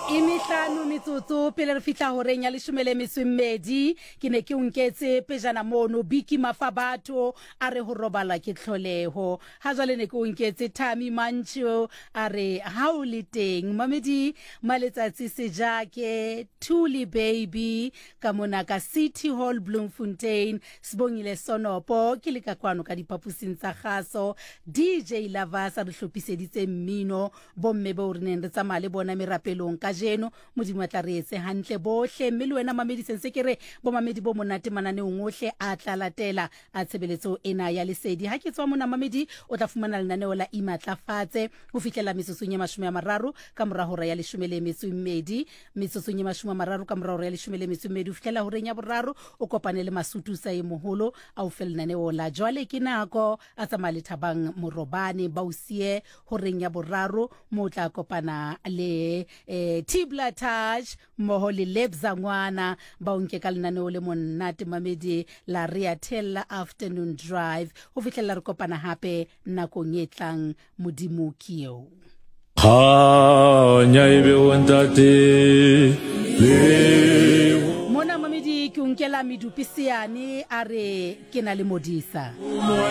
E mehlano metsotso pele re fihla horeng ya leshome le metso e mmedi. Ke ne ke o nketse pejana mono Biki Mafabatho a re ho robala ke tlholeho. Ha jwale ne ke o nketse Thami Mantsho a re ha o le teng. Mamedi Maletsatsi Sejake, Thuli Baby ka mona ka City Hall Bloemfontein, Sibongile Sonopo ke le ka kwano ka diphaposing tsa kgaso. DJ Lavas a re hlophiseditse mmino. Bomme beo re neng re tsamaya le bona merapelong kajeno, Modimo a tla re etse hantle bohle. Mme le wena mamedi, se ntse ke re bomamedi bo monate mananeong ohle a tla latela a tshebeletso ena ya Lesedi. Ha ke tswa mona mamedi, o tla fumana lenaneo la Imatlafatse ho fihlela metsotsong e 30 ka mora hora ya leshome le metso e mmedi. Metsotsong e 30 ka mora hora ya leshome le metso e mmedi ho fihlela horeng ya boraro, o kopane le Masutusa e moholo a o fe lenaneo la Jwale ke Nako. A tsamaya le Thabang Morobane ba o siye horeng ya boraro mo o tla kopana le eh, Tibla Touch mmoho le Lebza Ngwana ba o nke ka lenaneo le monate mamedi la Rea Thella Afternoon Drive ho fihlela re kopana hape nakong e tlang. Modimo ke eo. Kganya e be ho Ntate le Mona mamedi ke o nkela medupi seane a re ke na le modisa.